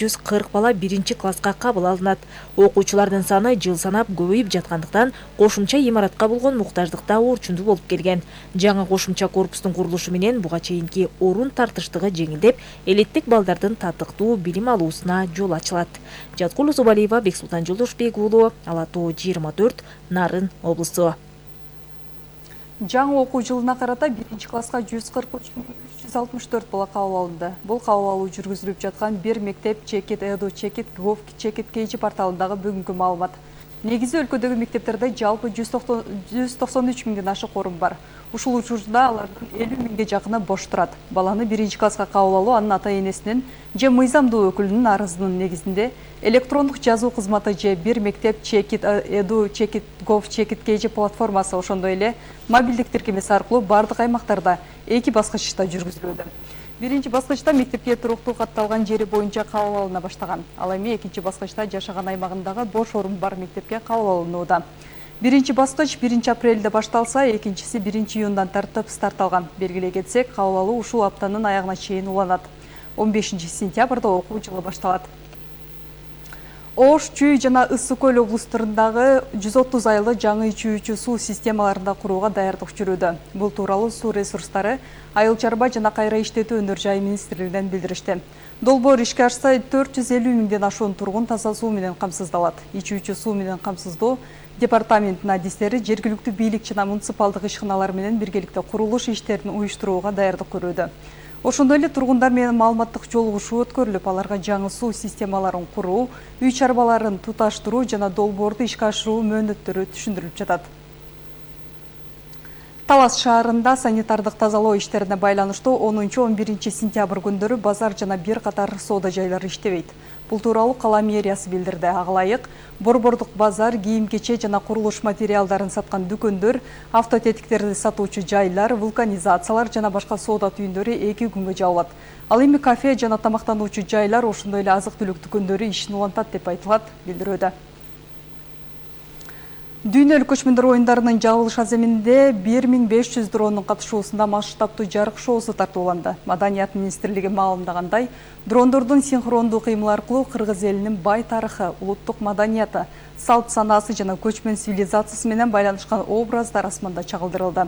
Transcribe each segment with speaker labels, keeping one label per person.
Speaker 1: 140 бала 1-класска кабыл алынат. Окуучулардын саны жыл санап көбөйүп жаткандыктан кошумча имаратка болгон муктаждык да орчундуу болуп келген. Жаңы кошумча корпустун курулушу менен буга чейинки орун тартыштыгы жеңилдеп, элиттик балдардын татыктуу билим алуусуна жол ачылат. Жаткул Зубалиева, Бексултан Жолдошбек уулу, Ала Тоо 24, Нарын облусу.
Speaker 2: Жаңы окуу жылына карата 1-класска 143.364 бала кабыл алынды. Бул кабыл алуу жүргүзүлүп жаткан бир мектеп Чекит Эду, Чекит Гов, Чекит Кейжи порталындагы бүгүнкү маалымат. Негизи өлкөдөгү мектептерде жалпы 193 миңден ашык орун бар. Ушул учурда алардын 50 миңге жакыны бош турат. Баланы 1-класска кабыл алуу анын ата-энесинин же мыйзамдуу өкүлүнүн арызынын негизинде электрондук жазуу кызматы же бир мектеп Чекит Эду, Чекит Гов, Чекит Кейжи платформасы ошондой эле мобилдик тиркемеси аркылуу бардык аймактарда 2 баскычта жүргүзүлүүдө. Биринчи баскычта мектепке туруктуу катталган жери боюнча кабыл алына баштаган. Ал эми экинчи баскычта жашаган аймагындагы бош орун бар мектепке кабыл алынууда. Биринчи баскыч 1 апрелде башталса, экинчиси 1 июндан тартып старт алган. Белгилей кетсек, кабыл алуу ушул аптанын аягына чейин уланат. 15 сентябрда окуу жылы башталат. Ош, Чүй жана Ысык көл облустарындагы 130 айлы жаңы ичүүчү суу системаларында курууга даярдык жүрүүдө. Бул тууралуу суу ресурстары, айыл чарба жана кайра иштетүү өнөр жай министрлигинен билдиришти. Долбоор ишке ашса 450 миңден ашуун тургун таза суу менен камсыздалат. Ичүүчү суу менен камсыздоо департаменттин адистери жергиликтүү бийлик жана муниципалдык ишканалар менен биргеликте курулуш иштерин уюштурууга даярдык көрүүдө. Ошондой эле тургундар менен маалыматтык жолугушуу өткөрүлүп, аларга жаңы суу системаларын куруу, үй чарбаларын туташтыруу жана долбоорду ишке ашыруу мөөнөттөрү түшүндүрүлүп жатат. Талас шаарында санитардык тазалоо иштерине байланыштуу 10-11 сентябрь күндөрү базар жана бир катар соода жайлары иштебейт. Бул тууралуу кала мэриясы билдирди. Ага ылайык борбордук базар, кийим-кече жана курулуш материалдарын саткан дүкөндөр, автотетиктерди сатуучу жайлар, вулканизациялар жана башка соода түйүндөрү 2 күнгө жабылат. Ал эми кафе жана тамактануучу жайлар, ошондой эле азык-түлүк дүкөндөрү ишин улантат деп айтылат билдирүүдө. Дүйнөлүк көчмөндөр оюндарынын жабылыш аземинде 1500 дронун катышуусунда масштабтуу жарык шоусу тартууланды. Маданият министрлиги маалымдагандай, дрондордун синхрондуу кыймыл аркылуу кыргыз элинин бай тарыхы, улуттук маданияты, салт санаасы жана көчмөн цивилизациясы менен байланышкан образдар асманда чагылдырылды.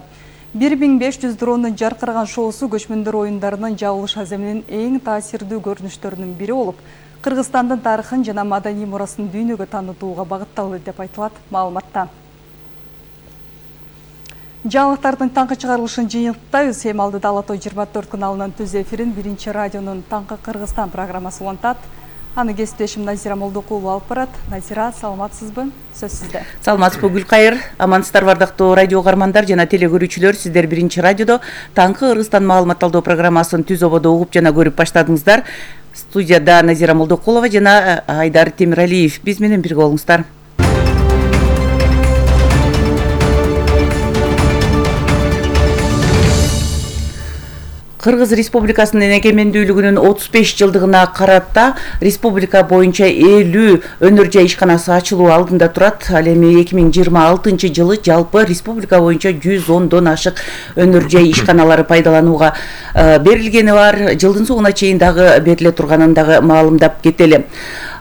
Speaker 2: 1500 дрондун жаркыраган шоусу көчмөндөр оюндарынын жабылыш аземинин эң таасирдүү көрүнүштөрүнүн бири болуп, Кыргызстандын тарыхын жана маданий мурасын дүйнөгө таанытууга багытталды деп айтылат маалыматта. Жаңылыктардын таңкы чыгарылышын жыйынтыктайбыз. Эми алдыда Ала Тоо 24 каналынын түз эфирин биринчи радионун Таңкы Кыргызстан программасы улантат. Аны кесиптешим Назира Молдокулова алып барат. Назира, саламатсызбы? Сөз сизде.
Speaker 3: Саламатсызбы Гүлкайыр. Амансыздар бардыктуу радио угармандар жана теле көрүүчүлөр. Сиздер биринчи радиодо Таңкы Кыргызстан маалымат алуу программасын түз ободо угуп жана көрүп баштадыңыздар. Студияда Назира Молдокулова жана Айдар Темиралиев биз менен бирге болуңуздар. Кыргыз Республикасынын эгемендүүлүгүнүн 35 жылдыгына карата республика боюнча 50 өнөр жай ишканасы ачылуу алдында турат. Ал эми 2026 жылы жалпы республика боюнча 110дон ашык өнөр жай ишканалары пайдаланууга берилгени бар. Жылдын соңуна чейин дагы бериле турганын дагы маалымдап кетели.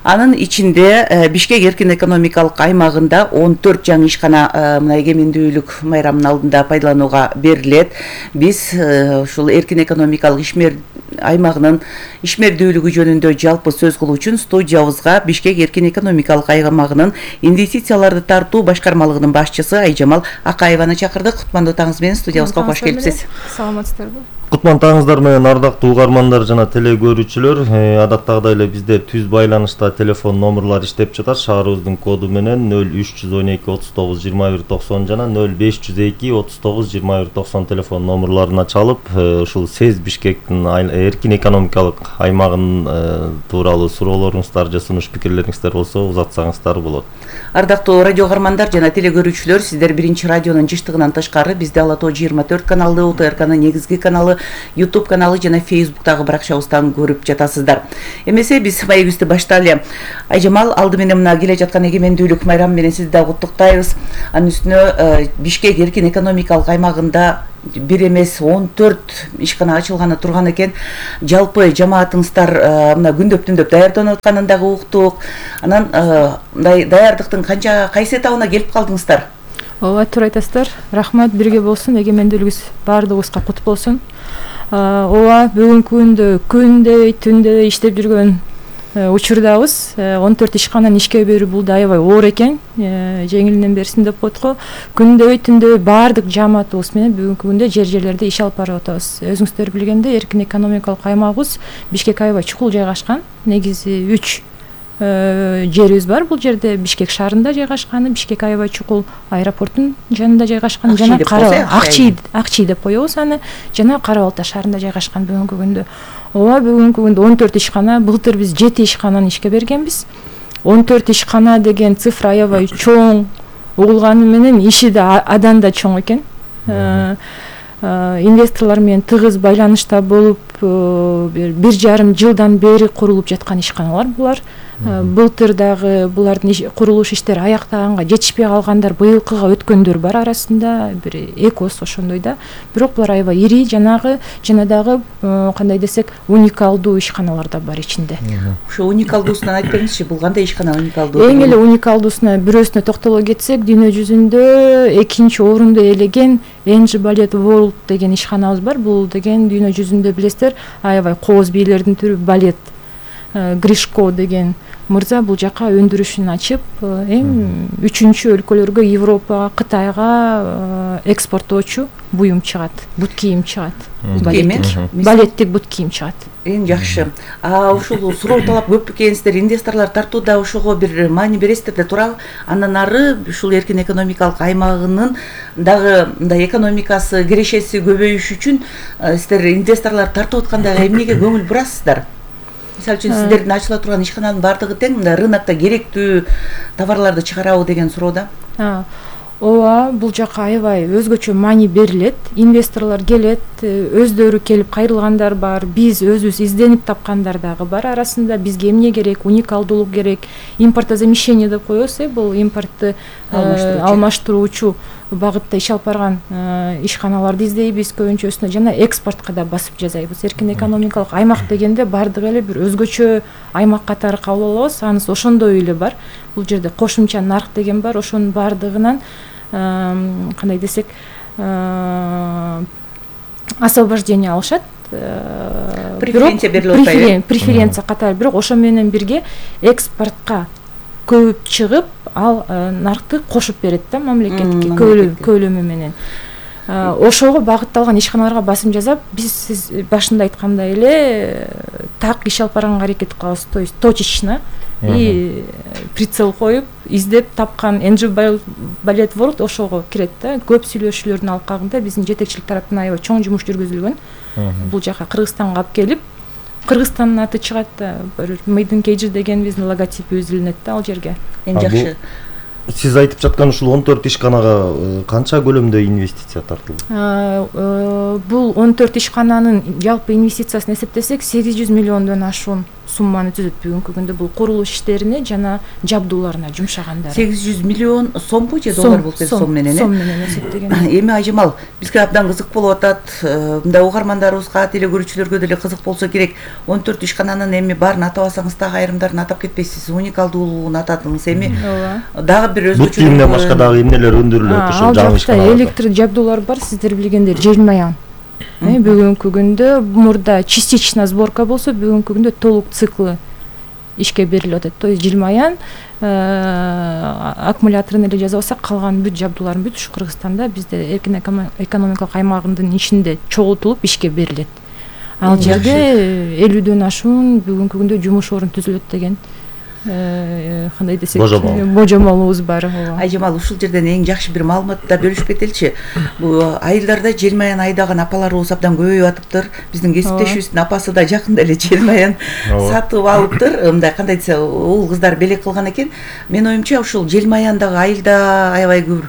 Speaker 3: Анын ичинде Бишкек эркин экономикалык аймагында 14 жаңы ишкана мына эгемендүүлүк майрамынын алдында пайдаланууга берилет. Биз ушул эркин экономикалык ишмер аймагынын ишмердүүлүгү жөнүндө жалпы сөз кылуу үчүн студиябызга Бишкек эркин экономикалык аймагынын инвестицияларды тартуу башкармалыгынын башчысы Айжамал Акаеваны чакырдык. Кутмандуу таңыңыз менен студиябызга кош келипсиз.
Speaker 4: Саламатсыздарбы? Кутман-таңыздар менен ардактуу угармандар жана теле көрүүчүлөр. Адаттагыдай эле бизде түз байланышта телефон номерлор иштеп жатат. Шаарыбыздын коду менен 0312 39 21 90 жана 0502 39 21 90 телефон номерлоруна чалып, ушул СЭЗ Бишкектин эркин экономикалык аймагынын тууралуу суроолоруңуздар же сунуш пикирлериңиздер болсо узатсаңыздар болот.
Speaker 3: Ардактуу радио угармандар жана теле көрүүчүлөр, сиздер биринчи радионун жыштыгынан тышкары бизде Ала Тоо 24 каналы, УТРКнын негизги каналы YouTube каналы жана Facebooktагы баракчабыздан көрүп жатасыздар. Эмесе биз маегибизди баштайлы. Айжамал, алды менен мына келе жаткан эгемендүүлүк майрамы менен сизди да куттуктайбыз. Анын үстүнө Бишкек эркин экономикалык аймагында бир эмес 14 ишкана ачылганы турган экен. Жалпы жамаатыңыздар мына күндөп түндөп даярданып атканын дагы уктук. Анан мындай даярдыктын кайсы этабына келип калдыңыздар?
Speaker 5: Ооба, туура айтасыздар. Рахмат, бирге болсун, эгемендүүлүгүбүз баардыгыбызга кут болсун. Ооба, бүгүнкү күндө күндөй түндөй иштеп жүргөн учурдабыз. 14 ишкананы ишке берүү бул да аябай оор экен. Жеңилинен берсин деп коет го. Күндөй түндөй баардык жамаатыбыз менен бүгүнкү күндө жерлерде иш алып барып атабыз. Өзүңүздөр билгендей, эркин экономикалык аймагыбыз Бишкек аябай чукул жайгашкан. Негизи 3 жерибиз бар. Бул жерде Бишкек шаарында жайгашкан, Бишкек аябай чукул аэропорттун жанында жайгашкан, жана Акчий деп коебуз аны, жана Кара Балта шаарында жайгашкан бүгүнкү күндө. Ооба, бүгүнкү күндө 14 ишкана, былтыр биз 7 ишкананы ишке бергенбиз. 14 ишкана деген цифра аябай чоң угулганы менен иши да адан да чоң экен. Инвесторлор менен тыгыз байланышта болуп, 1,5 жылдан бери курулуп жаткан ишканалар булар. Былтыр дагы булардын курулуш иштери аяктаганга жетишпей калгандар, быйылкыга өткөндөр бар арасында, бир экос ошондой да. Бирок булар аябай ири, жана дагы кандай десек, уникалдуу ишканалар да бар ичинде.
Speaker 3: Ошо уникалдуусунан айтып бериңизчи, бул кандай ишкана уникалдуу?
Speaker 5: Эң эле уникалдуусуна бирөөсүнө токтоло кетсек, дүйнө жүзүндө 2-орунду ээлеген Энжи Балет World деген ишканабыз бар. Бул деген дүйнө жүзүндө билесиздер, аябай кооз бийлердин түрү балет. Гришко деген мырза бул жака өндүрүшүн ачып, эми 3-өлкөлөргө, Европага, Кытайга экспорттоочу буюм чыгат, бут кийим чыгат. Балеттик бут кийим чыгат.
Speaker 3: Эң жакшы. Ушул суроо талап көп экенсиздер, инвесторлор тартууда, ошого бир маани бересиздер да туурабы? Андан ары ушул эркин экономикалык аймагынын дагы мындай экономикасы, кирешеси көбөйүш үчүн сиздер инвесторлор тартып атканда эмнеге көңүл бурасыздар? Мисалы үчүн сиздердин ачыла турган ишкананын баардыгы тең мындай рынокто керектүү товарларды чыгарабы деген суроодо.
Speaker 5: Ооба, бул жака аябай өзгөчө маани берилет. Инвесторлор келет, өздөрү келип кайрылгандар бар, биз өзүбүз изденип тапкандар дагы бар. Арасында бизге эмне керек, уникалдуулук керек, импортозамещение деп коебуз, бул импортты алмаштыруучу багытта иш алып барган ишканаларды издейбиз көбүнчөсүнө, жана экспортко да басып жасайбыз. Эркин экономикалык аймак дегенде баардыгы эле бир өзгөчө аймак катары кабыл алабыз. Анысы ошондой эле бар. Бул жерде кошумча нарк деген бар, ошонун баардыгынан кандай десек, освобождение алышат.
Speaker 3: Преференция берилип атпайбы?
Speaker 5: Преференция катары, бирок ошо менен бирге экспортко көбүп чыгып, ал наркты кошуп берет да мамлекетке көлөмү менен. Ошого багытталган ишканаларга басым жасап, биз сиз башында айткандай эле так иш алып барганга аракет кылабыз, то есть точечно и прицел коюп, издеп тапкан Энжи Балет World ошого кирет да. Көп сүйлөшүүлөрдүн алкагында биздин жетекчилик тараптан аябай чоң жумуш жүргүзүлгөн. Бул жака Кыргызстанга алып келип, Кыргызстандын аты чыгат да, Made in Cage деген биздин логотипибиз илинет да ал жерге.
Speaker 3: Эң жакшы.
Speaker 4: Сиз айтып жаткан ушул 14 ишканага канча көлөмдө инвестиция тартылды?
Speaker 5: Бул 14 ишкананын жалпы инвестициясын эсептесек 800 миллиондон ашуун сумманы түзөт бүгүнкү күндө бул курулуш иштерине жана жабдууларына жумшагандар.
Speaker 3: 800 миллион сомбу же доллар болуп кетти сом менен?
Speaker 5: Сом менен эсептеген.
Speaker 3: Эми Айжамал, бизге абдан кызык болуп атат. Мындай угармандарыбызга, телекөрүүчүлөргө деле кызык болсо керек. 14 ишкананын эми баарын атабасаңыз дагы айрымдарын атап кетпейсиз. Уникалдуулугун атадыңыз. Эми дагы бир өзгөчө
Speaker 4: бут башка дагы эмнелер өндүрүлөт ошол жаңы ишканаларда?
Speaker 5: Электр жабдуулар бар, сиздер билгендер, Желмаян. Бүгүнкү күндө мурда частичная сборка болсо, бүгүнкү күндө толук циклы ишке берилип атат. То есть Желмаян аккумуляторун эле жазып алсак, калган бүт жабдууларын бүт ушу Кыргызстанда бизде эркин экономикалык аймагынын ичинде чогултулуп ишке берилет. Ал жерде 50дөн ашуун бүгүнкү күндө жумуш орун түзүлөт деген кандай десек, божомолубуз бар.
Speaker 3: Айжамал, ушул жерден эң жакшы бир маалыматты бөлүшүп кетеличи. Бул айылдарда Желмаян айдаган апаларыбыз абдан көбөйүп атыптыр. Биздин кесиптешибиздин апасы да жакында эле Желмаян сатып алыптыр. Мындай кандай десе, уул кыздар белек кылган экен. Менин оюмча ушул Желмаяндагы айылда аябай көп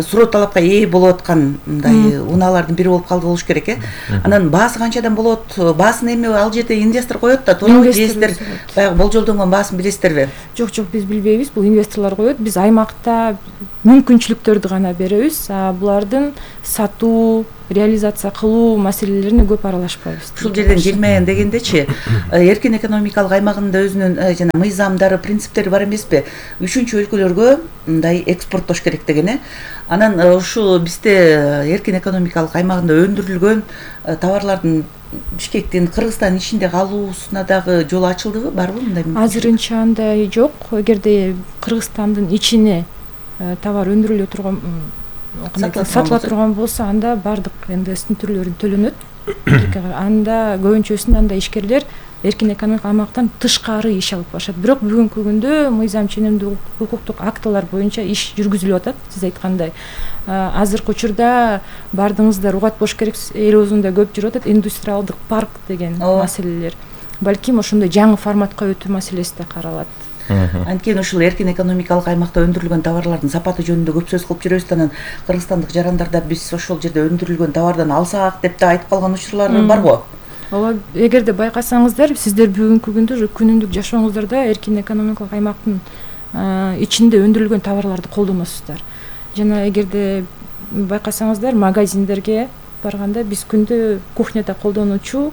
Speaker 3: суроо талапка ээ болуп аткан мындай унаалардын бири болуп калды болуш керек э. Анан баасы канчадан болот? Баасын эми ал жерде инвестор коет да, туурабы? Жесиздер баягы болжолдонгон баасын билесиздерби?
Speaker 5: Жок, биз билбейбиз. Бул инвесторлор коет. Биз аймакта мүмкүнчүлүктөрдү гана беребиз. Булардын сатуу, реализация кылуу маселелерине көп аралашпайбыз.
Speaker 3: Ушул жерден келмеген дегендечи, эркин экономикалык аймагында өзүнүн жана мыйзамдары, принциптери бар эмеспи? Үчүнчү өлкөлөргө мындай экспорттош керек деген э. Анан ушу бизде эркин экономикалык аймагында өндүрүлгөн товарлардын Бишкектин, Кыргызстандын ичинде калуусуна дагы жол ачылдыбы, барбы мындай?
Speaker 5: Азырынча андай жок. Эгерде Кыргызстандын ичине товар өндүрүлө турган, сатыла турган болсо, анда бардык НДСтин түрлөрүн төлөнөт. Анда көбүнчөсүндө анда ишкерлер эркин экономикалык аймактан тышкары иш алып барышат. Бирок бүгүнкү күндө мыйзам ченемдүү укуктук актылар боюнча иш жүргүзүлүп атат. Сиз айткандай, азыркы учурда бардыгыңыздар угат болуш керек, эл оозунда көп жүрүп атат индустриалдык парк деген маселелер. Балким ошондой жаңы форматка өтүү маселеси да каралат.
Speaker 3: Анткени ушул эркин экономикалык аймакта өндүрүлгөн товарлардын сапаты жөнүндө көп сөз кылып жүрөбүз. Анан кыргызстандык жарандарда биз ошол жерде өндүрүлгөн товардан алсак деп да айтып калган учурлар барбы?
Speaker 5: Ооба, эгерде байкасаңыздар, сиздер бүгүнкү күндө күнүмдүк жашооңуздарда эркин экономикалык аймактын ичинде өндүрүлгөн товарларды колдоносуздар. Жана эгерде байкасаңыздар, магазиндерге барганда биз күндө кухняда колдонуучу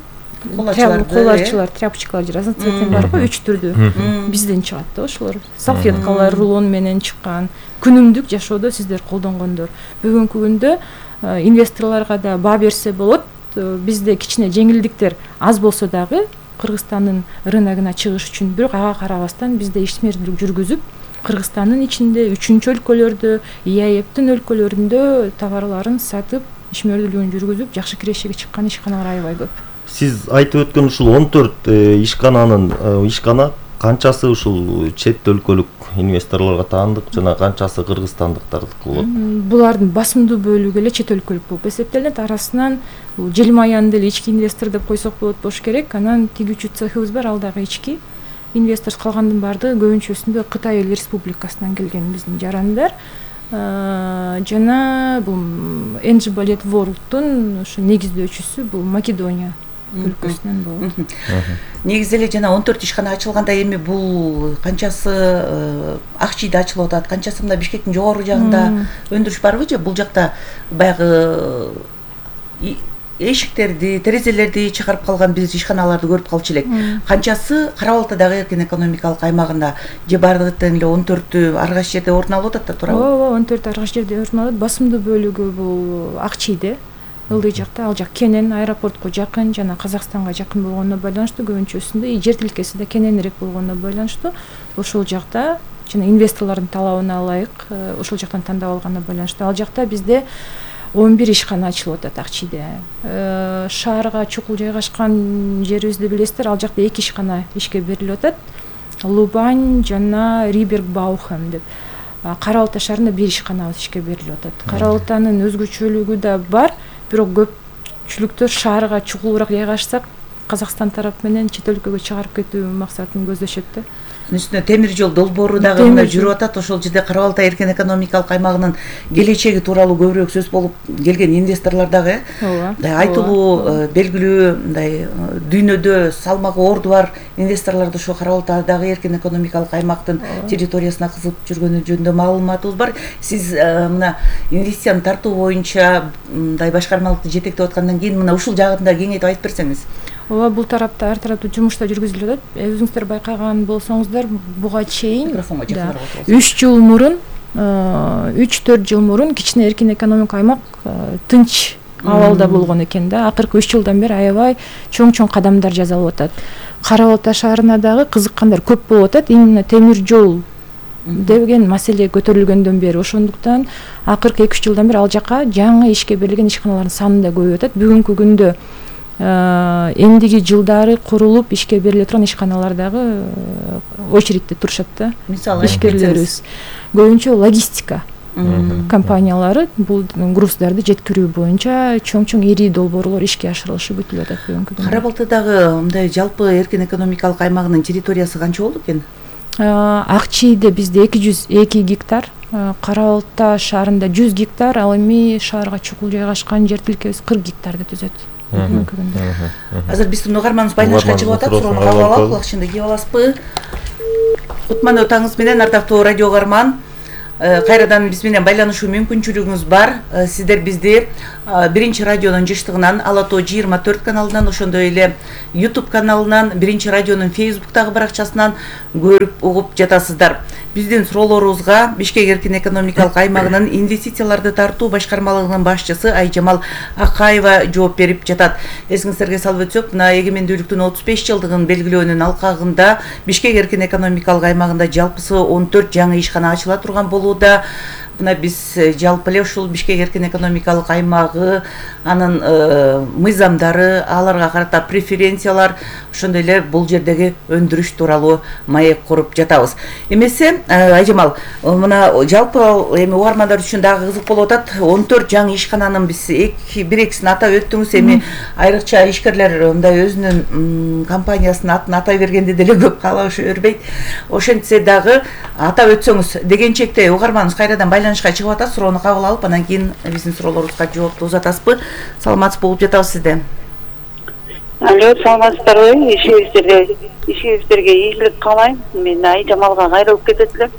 Speaker 5: колачылар, тряпочкалар разноцветный барбы, 3 түрдүү. Бизден чыгат да ошолор. Салфеткалар рулон менен чыккан. Күнүмдүк жашоодо сиздер колдонгондор. Бүгүнкү күндө инвесторлорго да баа берсе болот. Бизде кичине жеңилдиктер аз болсо дагы Кыргызстандын рыногуна чыгыш үчүн, бирок ага карабастан бизде ишмердүүлүк жүргүзүп, Кыргызстандын ичинде 3-өлкөлөрдө, ИАЭПтин өлкөлөрүндө товарларын сатып, ишмердүүлүгүн жүргүзүп, жакшы кирешеге чыккан ишканалар аябай көп.
Speaker 4: Сиз айтып өткөн ушул 14 ишкана канчасы ушул чет өлкөлүк инвесторлорго таандык жана канчасы кыргызстандыктардыкы болот?
Speaker 5: Булардын басымдуу бөлүгү эле чет өлкөлүк болуп эсептелет. Арасынан Желмаянды эле ички инвестор деп койсок болуш керек. Анан тигүүчү цехыбыз бар, ал дагы ички инвестор. Калгандын баардыгы көбүнчөсүндө Кытай Эл Республикасынан келген биздин жарандар. Жана бул Энджи Балет Ворлдтун ушу негиздөөчүсү бул Македония өлкөсүнөн болот.
Speaker 3: Негизи эле жана 14 ишкана ачылганда эми бул канчасы Акчийде ачылып атат, канчасы мына Бишкектин жогору жагында өндүрүш барбы же бул жакта баягы эшиктерди, терезелерди чыгарып калган биз ишканаларды көрүп калчу элек. Канчасы Кара Балтадагы эркин экономикалык аймагында же бардыгы тең эле 14-тү ар кайсы жерде орун алып атат да, туурабы?
Speaker 5: Ооба, 14 ар кайсы жерде орун алат. Басымдуу бөлүгү бул Акчийде. Ылдый жакта, ал жак Кенен аэропортко жакын жана Казакстанга жакын болгонуна байланыштуу, көбүнчөсүндө жер тилкеси да кененирээк болгонуна байланыштуу ошол жакта жана инвесторлордун талабына ылайык ошол жактан тандап алганына байланыштуу ал жакта бизде 11 ишкана ачылып атат Акчийде. Шаарга чукул жайгашкан жерибизди билесиздер, ал жакта 2 ишкана ишке берилип атат. Лубань жана Риберг-Баухем деп. Кара Балта шаарында 1 ишканабыз ишке берилип атат. Кара Балтанын өзгөчөлүгү да бар, бирок көпчүлүктөр шаарга чукулураак жайгашсак, Казакстан тарап менен чет өлкөгө чыгарып кетүү максатын көздөшөт да.
Speaker 3: Үстүнө темир жол долбоору дагы мына жүрүп атат. Ошол жерде Кара Балта эркин экономикалык аймагынын келечеги тууралуу көбүрөөк сөз болуп келген инвесторлор дагы айтылуу белгилүү мындай дүйнөдө салмагы орду бар инвесторлорду ошо Кара Балтадагы эркин экономикалык аймактын территориясына кызып жүргөнү жөнүндө маалыматыбыз бар. Сиз мына инвестицияны тартуу боюнча мындай башкармалыкты жетектеп аткандан кийин мына ушул жагын да кеңейтип айтып берсеңиз.
Speaker 5: Ооба, бул тарапта ар тараптуу жумуштар жүргүзүлүп атат. Өзүңүздөр байкаган болсоңуздар, буга чейин 3 жыл мурун, 3-4 жыл мурун кичине эркин экономикалык аймак тынч абалда болгон экен да. Акыркы 3 жылдан бери аябай чоң кадамдар жасалып атат. Кара Балта шаарына дагы кызыккандар көп болуп атат. Именно темир жол деген маселе көтөрүлгөндөн бери, ошондуктан акыркы 2-3 жылдан бери ал жака жаңы ишке берилген ишканалардын саны да көбөйүп атат. Бүгүнкү күндө эндиги жылдары курулуп ишке бериле турган ишканалар дагы очередте турушат да.
Speaker 3: Мисалы
Speaker 5: ишкерлерибиз көбүнчө логистика компаниялары бул груздарды жеткирүү боюнча чоң ири долбоорлор ишке ашырылышы бүтүлүп атат бүгүнкү күндө.
Speaker 3: Кара Балтадагы мындай жалпы эркин экономикалык аймагынын территориясы канча болду экен?
Speaker 5: Ак Чийде бизде 202 гектар, Кара Балта шаарында 100 гектар, ал эми шаарга чукул жайгашкан жер тилкебиз 40 гектарды түзөт.
Speaker 3: Азыр биздин угарманыбыз байланышка чыгып атат, суроону кабыл алалы, кулакчынды кийип аласызбы? Кутмандуу таңыңыз менен, ардактуу радио угарман. Кайрадан биз менен байланышуу мүмкүнчүлүгүңүз бар. Сиздер бизди Биринчи радионун жыштыгынан, Ала Тоо 24 каналынан, ошондой эле YouTube каналынан, Биринчи радионун Facebooktагы баракчасынан көрүп угуп жатасыздар. Биздин суроолорубузга Бишкек эркин экономикалык аймагынын инвестицияларды тартуу башкармалыгынын башчысы Айжамал Акаева жооп берип жатат. Эсиңиздерге салып өтсөк, мына эгемендүүлүктүн 35 жылдыгын белгилөөнүн алкагында Бишкек эркин экономикалык аймагында жалпысы 14 жаңы ишкана ачыла турган болууда. Мына биз жалпы эле ушул Бишкек эркин экономикалык аймагы, анын мыйзамдары, аларга карата преференциялар, ошондой эле бул жердеги өндүрүш тууралуу маек куруп жатабыз. Эмесе Айжамал, мына жалпы эми угармандар үчүн дагы кызык болуп атат. 14 жаңы ишкананын биз бир-экисин атап өттүңүз. Эми айрыкча ишкерлер мындай өзүнүн компаниясынын атын атай бергенди деле көп каалашы бербейт. Ошентсе дагы атап өтсөңүз, дегенчекте угарманыбыз кайрадан байланышка чыгып атат, суроону кабыл алып, анан кийин биздин суроолорубузга жоопту узатасызбы? Саламатсыз болуп жатабыз сизде.
Speaker 6: Алло, саламатсыздарбы? Ишибизге ийгилик каалайм. Мен Айжамалга кайрылып кетет элем.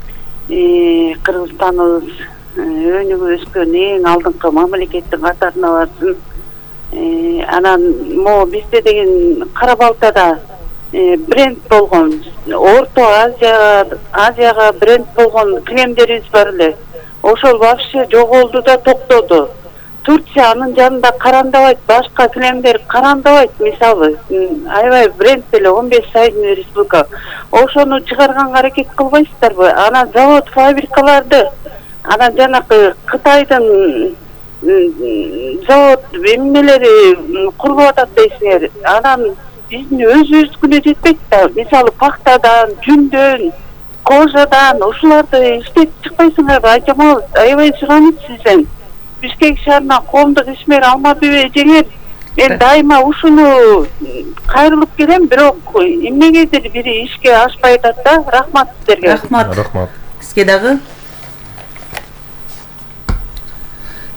Speaker 6: Кыргызстаныбыз өнүгүп өскөн эң алдыңкы мамлекеттин катарына барсын. Анан могу бизде деген Кара Балтада бренд болгон, Орто Азияга бренд болгон кремдерибиз бар эле. Ошол вообще жоголду да токтоду. Турция анын жанында карандабайт, башка кремдер карандабайт, мисалы. Аябай бренд эле 15 сайдын республика. Ошону чыгарганга аракет кылбайсыздарбы? Анан завод, фабрикаларды, анан жанакы Кытайдын завод эмнелери курулуп атат дейсиңер. Анан биздин өзүбүздүкүнө жетпейт да. Мисалы пахтадан, жүндөн, кожадан ушуларды иштетип чыкпайсыңарбы? Айжамал, аябай суранып сизден. Бишкек шаарына коомдук ишмер Алмабек эжеңер, мен дайыма ушуну кайрылып келем, бирок эмнегедир бири ишке ашпай атат да. Рахмат сиздерге.
Speaker 3: Рахмат. Сизге дагы.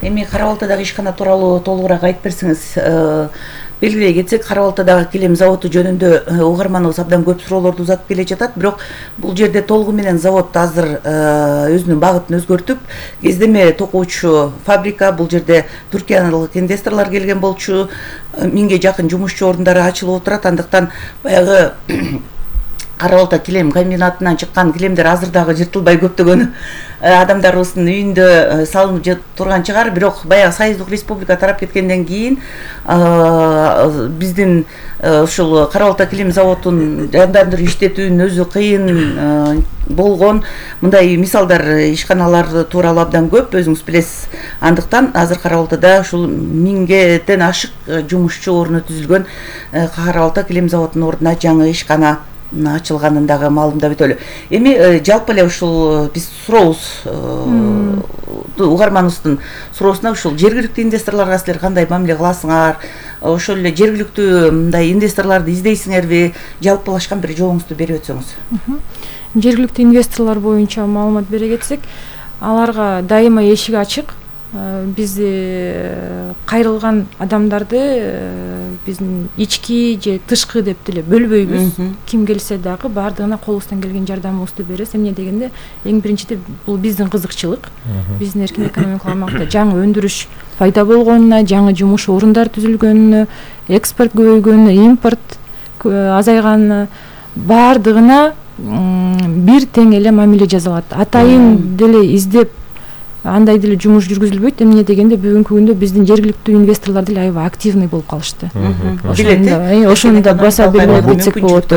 Speaker 3: Эми Кара Балтадагы ишкана тууралуу толугураак айтып берсеңиз. Белгилей кетсек, Кара Балтадагы килем заводу жөнүндө угарманыбыз абдан көп суроолорду узатып келе жатат, бирок бул жерде толугу менен завод азыр өзүнүн багытын өзгөртүп, кездеме токуучу фабрика, бул жерде туркиялык инвесторлор келген болчу, 1000ге жакын жумушчу орундары ачылып отурат. Андыктан баягы Кара Балта килем комбинатынан чыккан килемдер азыр дагы жыртылбай көптөгөн адамдарыбыздын үйүндө салынып турган чыгар, бирок баягы Союздук Республика тарап кеткенден кийин биздин ушул Кара Балта килем заводун жандандырып иштетүүнүн өзү кыйын болгон. Мындай мисалдар, ишканалар тууралуу абдан көп, өзүңүз билесиз. Андыктан азыр Кара Балтада ушул 1000ден ашык жумушчу орну түзүлгөн Кара Балта килем заводунун ордуна жаңы ишкана ачылганын дагы маалымдап өтөлү. Эми жалпы эле ушул биз сурообуз, угарманыбыздын суроосуна ушул жергиликтүү инвесторлорго силер кандай мамиле кыласыңар? Ошол эле жергиликтүү мындай инвесторлорду издейсиңерби? Жалпылашкан бир жообуңузду берип өтсөңүз.
Speaker 5: Жергиликтүү инвесторлор боюнча маалымат бере кетсек, аларга дайыма эшик ачык. Биз кайрылган адамдарды биздин ички же тышкы деп деле бөлбөйбүз. Ким келсе дагы баардыгына колубуздан келген жардамыбызды беребиз. Эмне дегенде, эң биринчиде бул биздин кызыкчылык. Биздин эркин экономикалык аймакта жаңы өндүрүш пайда болгонуна, жаңы жумуш орундар түзүлгөнүнө, экспорт көбөйгөнүнө, импорт азайганына, баардыгына бир тең эле мамиле жасалат. Атайын деле издеп андай деле жумуш жүргүзүлбөйт. Эмне дегенде, бүгүнкү күндө биздин жергиликтүү инвесторлор деле аябай активный болуп калышты. Ошону да баса белгилеп кетсек болот.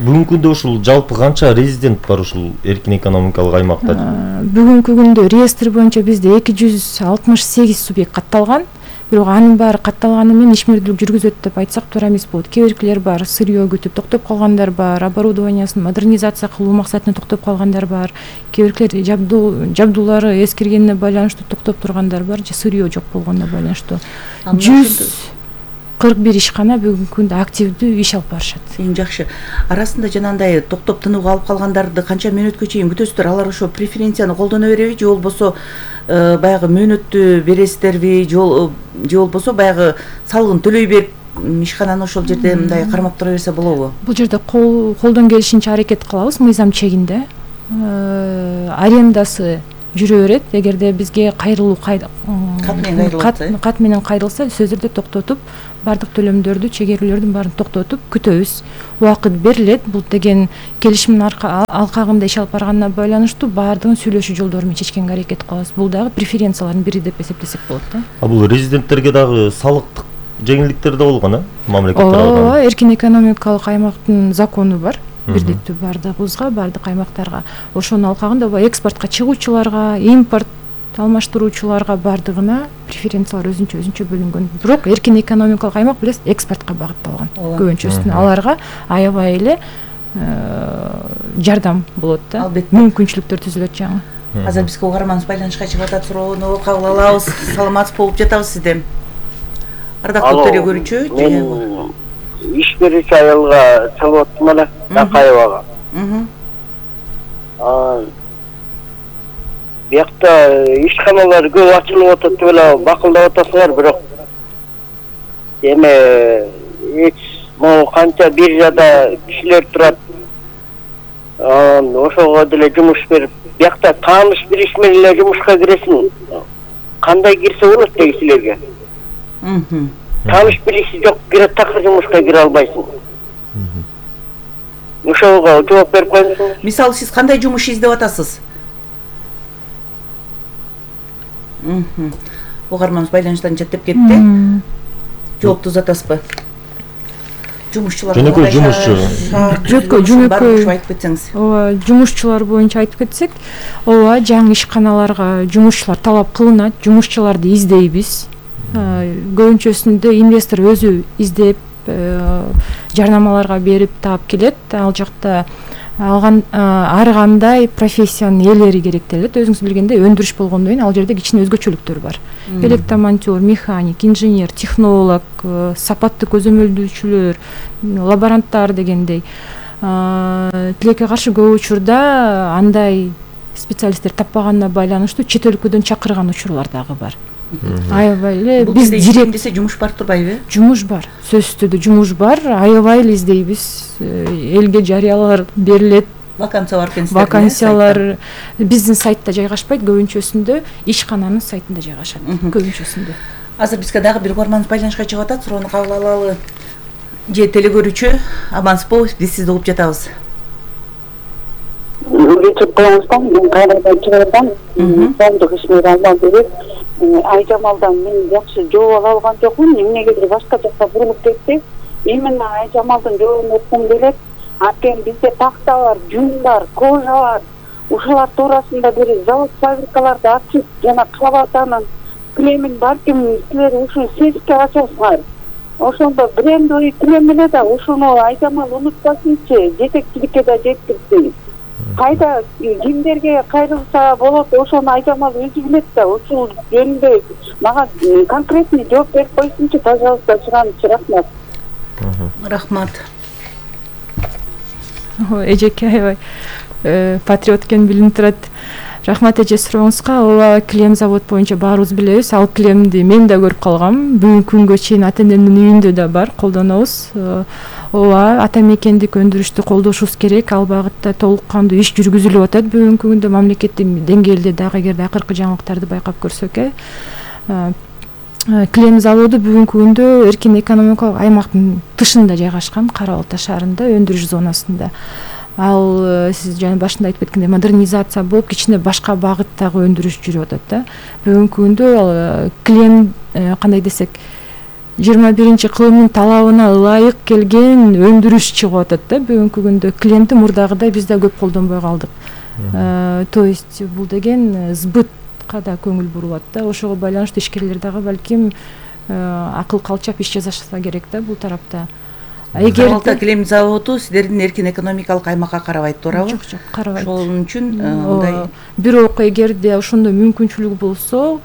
Speaker 4: Бүгүнкү күндө ушул жалпы канча резидент бар ушул эркин экономикалык аймакта?
Speaker 5: Бүгүнкү күндө реестр боюнча бизде 268 субъект катталган. Бирок анын баары катталганы менен ишмердүүлүк жүргүзөт деп айтсак туура эмес болот. Кээ биркилер бар, сырьё күтүп токтоп калгандар бар, оборудованиясын модернизация кылуу максатында токтоп калгандар бар. Кээ биркилер жабдуулары эскиргенине байланыштуу токтоп тургандар бар, же сырьё жок болгонуна байланыштуу. 41 ишкана бүгүнкү күндө активдүү иш алып барышат.
Speaker 3: Эң жакшы. Арасында жанагындай токтоп тынууга алып калгандарды канча мөөнөткө чейин күтөсүздөр? Алар ошо преференцияны колдоно береби же болбосо баягы мөөнөттү бересиздерби же болбосо баягы салыгын төлөй берип ишкананы ошол жерде мындай кармап тура берсе болобу?
Speaker 5: Бул жерде колдон келишинче аракет кылабыз мыйзам чегинде. Арендасы жүрө берет. Эгерде бизге кайрылуу кат менен кайрылса, сөзүрдө токтотуп, бардык төлөмдөрдү, чегерүүлөрдүн баарын токтотуп күтөбүз. Убакыт берилет. Бул деген келишимдин алкагында иш алып барганына байланыштуу баардыгын сүйлөшүү жолдору менен чечкенге аракет кылабыз. Бул дагы преференциялардын бири деп эсептесек болот да.
Speaker 4: Бул резиденттерге дагы салыктык жеңилдиктер да болгон, мамлекет тарабынан?
Speaker 5: Ооба, эркин экономикалык аймактын закону бар. Бирдиктүү бардыгыбызга, бардык аймактарга. Ошонун алкагында экспортко чыгуучуларга, импорт алмаштыруучуларга бардыгына преференциялар өзүнчө бөлүнгөн. Бирок эркин экономикалык аймак билесиз, экспортко багытталган. Көбүнчөсүнө аларга аябай эле жардам болот да. Мүмкүнчүлүктөр түзүлөт жаңы.
Speaker 3: Азыр бизге угарманыбыз байланышка чыгып атат, суроону кабыл алабыз. Саламатсыз болуп жатабыз сизден. Ардактуу телекөрүүчү,
Speaker 7: мен иш берүүчү аялга саламаттым эле, Акаевага. Биякта ишканалар көп ачылып атат деп эле бакылдап атасыңар, бирок эме могу канча биржада кишилер турат, ошого деле жумуш берип, биякта тааныш билиш менен эле жумушка киресиң. Кандай кирсе болот дегисилерге? Тааныш билиши жок, такыр жумушка кире албайсың. Ошого жооп берип коюңуз.
Speaker 3: Мисалы сиз кандай жумуш издеп атасыз? Угарманыбыз байланыштан четтеп кетти. Жоопту узатасызбы? Жумушчулар
Speaker 4: жөнөкөй жумушчу.
Speaker 5: Жөнөкөй
Speaker 3: айтып кетсеңиз.
Speaker 5: Ооба, жумушчулар боюнча айтып кетсек, ооба, жаңы ишканаларга жумушчулар талап кылынат, жумушчуларды издейбиз. Көбүнчөсүндө инвестор өзү издеп, жарнамаларга берип таап келет. Ал жакта ар кандай профессиянын ээлери керектелет. Өзүңүз билгендей, өндүрүш болгондон кийин ал жерде кичине өзгөчөлүктөр бар. Электромонтер, механик, инженер, технолог, сапатты көзөмөлдөөчүлөр, лаборанттар дегендей. Тилекке каршы көп учурда андай специалисттер таппаганына байланыштуу чет өлкөдөн чакырган учурлар дагы бар. Аябай эле биз
Speaker 3: директесе жумуш бар турбайбы?
Speaker 5: Жумуш бар. Сөзсүз түрдө жумуш бар. Аябай эле издейбиз. Элге жарыялар берилет.
Speaker 3: Вакансия бар экен.
Speaker 5: Вакансиялар биздин сайтта жайгашпайт, көбүнчөсүндө ишкананын сайтында жайгашат. Көбүнчөсүндө.
Speaker 3: Азыр бизге дагы бир угарманыбыз байланышка чыгып атат, суроону кабыл алалы. Же телекөрүүчү, амансызбы? Биз сизди угуп жатабыз.
Speaker 6: Мен кайрадан чыгардан, коомдук ишмер алган берип, Айжамалдан мен жакшы жооп ала алган жокмун, эмнегедир башка жакка бурулуп кетти. Именно Айжамалдын жообун окугум келет. Анткени бизде такта бар, жүн бар, кожа бар. Ушулар туурасында бир завод, фабрикаларды ачып, жана Кабатанын килемин балким силер ушул сеске ачасыңар. Ошондо брендовый килем эле да ушуну Айжамал унутпасынчы, жетекчиликке да жеткирсин. Кайда кимдерге кайрылса болот, ошону Айжамал өзү билет да, ушул жөнүндө мага конкретный жооп берип койсунчу, пожалуйста, сураныч, рахмат.
Speaker 3: Рахмат.
Speaker 5: Эжеке аябай патриот экен билинип турат. Рахмат эже сурооңузга. Ооба, килем завод боюнча баарыбыз билебиз. Ал килемди мен да көрүп калгам. Бүгүнкү күнгө чейин ата энемдин үйүндө да бар, колдонобуз. Ооба, ата мекендик өндүрүштү колдошубуз керек. Ал багытта толук кандуу иш жүргүзүлүп атат. Бүгүнкү күндө мамлекеттик деңгээлде дагы эгерде акыркы жаңылыктарды байкап көрсөк, килем заводу бүгүнкү күндө эркин экономикалык аймактын тышында жайгашкан, Кара Балта шаарында, өндүрүш зонасында. Ал сиз жана башында айтып кеткендей модернизация болуп, кичине башка багыттагы өндүрүш жүрүп атат да. Бүгүнкү күндө килем кандай десек 21-кылымдын талабына ылайык келген өндүрүш чыгып атат да. Бүгүнкү күндө килемди мурдагыдай биз да көп колдонбой калдык. То есть бул деген сбытка да көңүл бурулат да. Ошого байланыштуу ишкерлер дагы балким акыл калчап иш жасашса керек да бул тарапта.
Speaker 3: Эгерде килем заводу сиздердин эркин экономикалык аймакка карабайт, туурабы?
Speaker 5: Жок, карабайт.
Speaker 3: Ошол үчүн мындай.
Speaker 5: Бирок эгерде ошондой мүмкүнчүлүк болсо,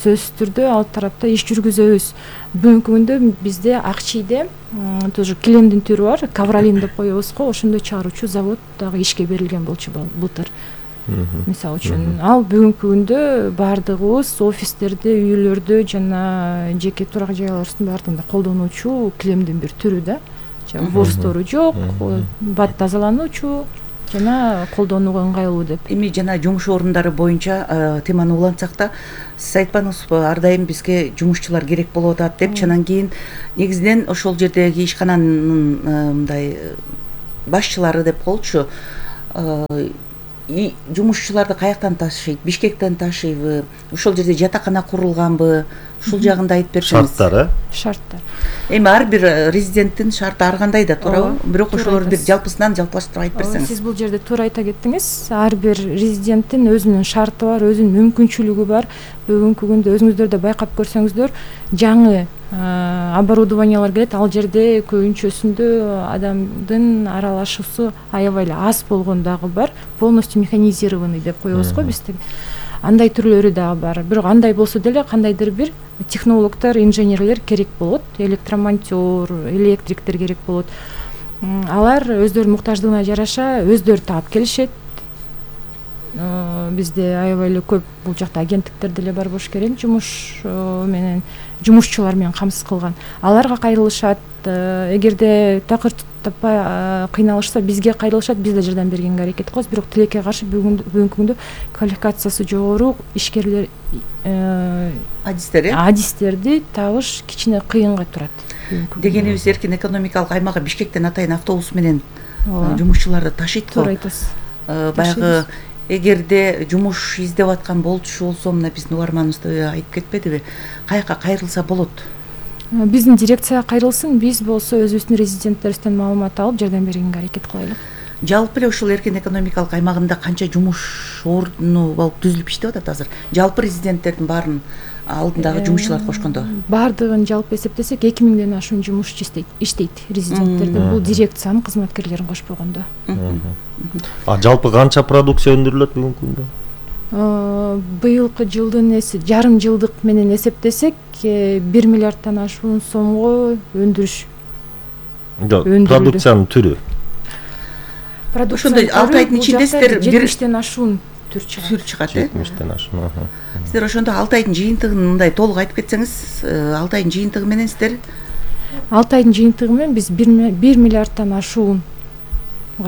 Speaker 5: сөзсүз түрдө ал тарапта иш жүргүзөбүз. Бүгүнкү күндө бизде Акчийде тоже килемдин түрү бар, Ковролин деп коебуз го, ошондой чыгаруучу завод дагы ишке берилген болчу былтыр. Мисалы үчүн ал бүгүнкү күндө баардыгыбыз офистерде, үйлөрдө жана жеке турак жайларыбыздын баардыгында колдонуучу килемдин бир түрү да. Борстору жок, бат тазалануучу жана колдонууга ыңгайлуу деп.
Speaker 3: Эми жана жумуш орундары боюнча теманы улантсак да, сиз айтпадыңызбы, ар дайым бизге жумушчулар керек болуп атат деп, анан кийин негизинен ошол жердеги ишкананын мындай башчылары деп коелучу, жумушчуларды каяктан ташыйт? Бишкектен ташыйбы? Ошол жерде жатакана курулганбы? Ушул жагында айтып берсеңиз.
Speaker 4: Шарттар,
Speaker 5: Шарттар.
Speaker 3: Эми ар бир резиденттин шарты ар кандай да туурабы? Бирок ошолорду бир жалпысынан жалпылаштырып айтып берсеңиз.
Speaker 5: Сиз бул жерде туура айта кеттиңиз. Ар бир резиденттин өзүнүн шарты бар, өзүнүн мүмкүнчүлүгү бар. Бүгүнкү күндө өзүңүздөр да байкап көрсөңүздөр, жаңы оборудованиялар келет, ал жерде көбүнчөсүндө адамдын аралашуусу аябай эле аз болгон дагы бар. Полностью механизированный деп коебуз го бизде. Андай түрлөрү дагы бар. Бирок андай болсо деле кандайдыр бир технологдор, инженерлер керек болот, электромонтер, электриктер керек болот. Алар өздөрүнүн муктаждыгына жараша өздөрү таап келишет. Бизде аябай эле көп бул жакта агенттиктер деле бар болуш керек, жумушчулар менен камсыз кылган. Аларга кайрылышат, эгерде такыр таппай кыйналышса бизге кайрылышат, биз да жардам бергенге аракет кылабыз. Бирок тилекке каршы бүгүнкү күндө квалификациясы жогору ишкерлер адистерди табыш кичине кыйынга турат.
Speaker 3: Дегенибиз эркин экономикалык аймагы Бишкектен атайын автобус менен жумушчуларды ташыйт го.
Speaker 5: Туура айтасыз.
Speaker 3: Баягы эгерде жумуш издеп аткан болчу болсо, мына биздин угарманыбыз айтып кетпедиби? Каяка кайрылса болот?
Speaker 5: Биздин дирекцияга кайрылсын, биз болсо өзүбүздүн резиденттерибизден маалымат алып жардам бергенге аракет кылайлы.
Speaker 3: Жалпы эле ушул эркин экономикалык аймагында канча жумуш орну болуп түзүлүп иштеп атат азыр? Жалпы резиденттердин баарын алдындагы жумушчуларды кошкондо?
Speaker 5: Баардыгын жалпы эсептесек 2000ден ашуун жумушчу иштейт резиденттерде. Бул дирекциянын кызматкерлерин кошпогондо.
Speaker 4: Жалпы канча продукция өндүрүлөт бүгүнкү күндө?
Speaker 5: Быйылкы жылдын жарым жылдык менен эсептесек 1 миллиардтан ашуун сомго өндүрүш.
Speaker 4: Продукциянын түрү.
Speaker 3: Ошондой 6 айдын ичинде сиздер
Speaker 5: 70тен ашуун түр
Speaker 3: чыгат,
Speaker 4: 70тен ашуун.
Speaker 3: Сиздер ошондо 6 айдын жыйынтыгын мындай толук айтып кетсеңиз, 6 айдын жыйынтыгы менен сиздер
Speaker 5: 6 айдын жыйынтыгы менен биз 1 миллиардтан ашуун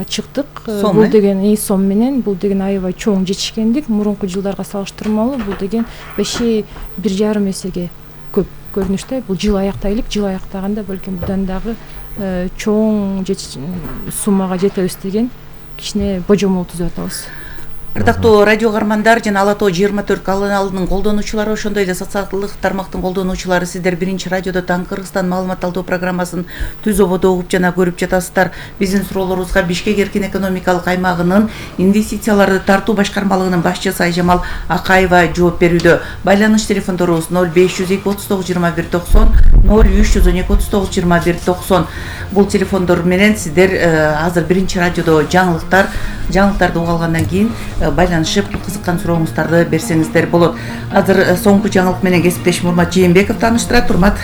Speaker 5: чыктык. Бул деген сом менен, бул деген аябай чоң жетишкендик. Мурунку жылдарга салыштырмалуу бул деген 1,5 эсеге көп көрүнүштө. Бул жыл аяктайлык, жыл аяктаганда балким будан дагы чоң суммага жетебиз деген кичине божомол түзүп атабыз.
Speaker 3: Ардактуу радио каармандар жана Ала Тоо 24 каналынын колдонуучулары, ошондой эле социалдык тармактын колдонуучулары, сиздер биринчи радиодо Таң Кыргызстан маалымат алуу программасын түз ободо угуп жана көрүп жатасыздар. Биздин суроолорубузга Бишкек эркин экономикалык аймагынын инвестицияларды тартуу башкармалыгынын башчысы Айжамал Акаева жооп берүүдө. Байланыш телефондорубуз 0502 39 21 90, 0312 39 21 90. Бул телефондор менен сиздер азыр биринчи радиодо жаңылыктарды угуп алгандан кийин байланышып кызыккан сурооңуздарды берсеңиздер болот. Азыр соңку жаңылык менен кесиптешим Урмат Жээнбеков тааныштырат. Урмат.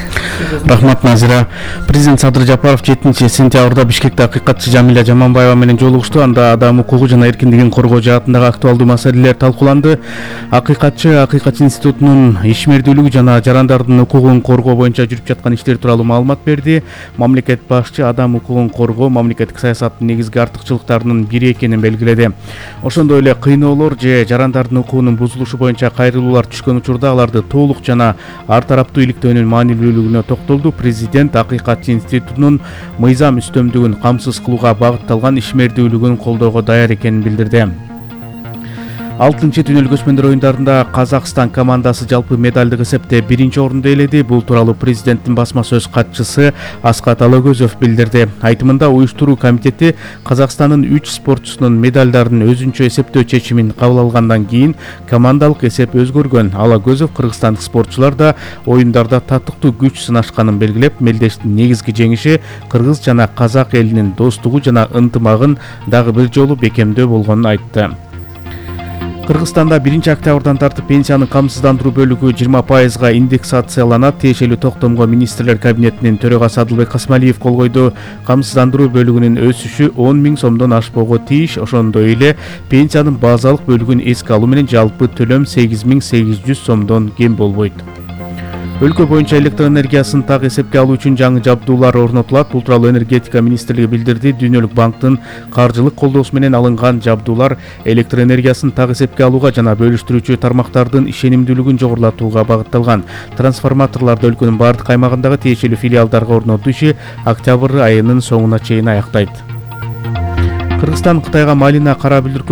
Speaker 8: Рахмат Назира. Президент Садыр Жапаров 7-сентябрда Бишкекте акыйкатчы Жамиля Жаманбаева менен жолугушту. Анда адам укугу жана эркиндигин коргоо жаатындагы актуалдуу маселелер талкууланды. Акыйкатчы институтунун ишмердүүлүгү жана жарандардын укугун коргоо боюнча жүрүп жаткан иштер тууралуу маалымат берди. Мамлекет башчы адам укугун коргоо мамлекеттик саясаттын негизги артыкчылыктарынын бири экенин белгиледи. Ошондой эле кыйноолор же жарандардын укугунун бузулушу боюнча кайрылуулар түшкөн учурда аларды толук жана ар тараптуу иликтөөнүн маанилүүлүгүнө токтолду. Президент акыйкатчы институтунун мыйзам үстөмдүгүн камсыз кылууга багытталган ишмердүүлүгүн колдоого даяр экенин билдирди. 6-түнөлүк өсмөндөр оюндарында Казакстан командасы жалпы медалдык эсепте 1-орунду ээледи. Бул тууралуу президенттин басма сөз катчысы Аскат Алагөзов билдирди. Айтымында уюштуруу комитети Казакстандын 3 спортчусунун медалдарын өзүнчө эсептөө чечимин кабыл алгандан кийин командалык эсеп өзгөргөн. Алагөзов кыргызстандык спортчулар да оюндарда татыктуу күч сынашканын белгилеп, мелдештин негизги жеңиши кыргыз жана казак элинин достугу жана ынтымагын дагы бир жолу бекемдөө болгонун айтты. Кыргызстанда 1-октябрдан тартып пенсиянын камсыздандыруу бөлүгү 20%га индексацияланат. Тиешелүү токтомго министрлер кабинетинин төрагасы Адылбек Касмалиев кол койду. Камсыздандыруу бөлүгүнүн өсүшү 10 000 сомдон ашпоого тийиш. Ошондой эле пенсиянын базалык бөлүгүн эске алуу менен жалпы төлөм 8800 сомдон кем болбойт. Өлкө боюнча электр энергиясын так эсепке алуу үчүн жаңы жабдуулар орнотулат. Бул тууралуу энергетика министрлиги билдирди. Дүйнөлүк банктын каржылык колдоосу менен алынган жабдуулар электр энергиясын так эсепке алууга жана бөлүштүрүүчү тармактардын ишенимдүүлүгүн жогорулатууга багытталган. Трансформаторлорду өлкөнүн бардык аймагындагы тиешелүү филиалдарга орнотуу иши октябрь айынын соңуна чейин аяктайт. Кыргызстан Кытайга малина, кара бүлдүркү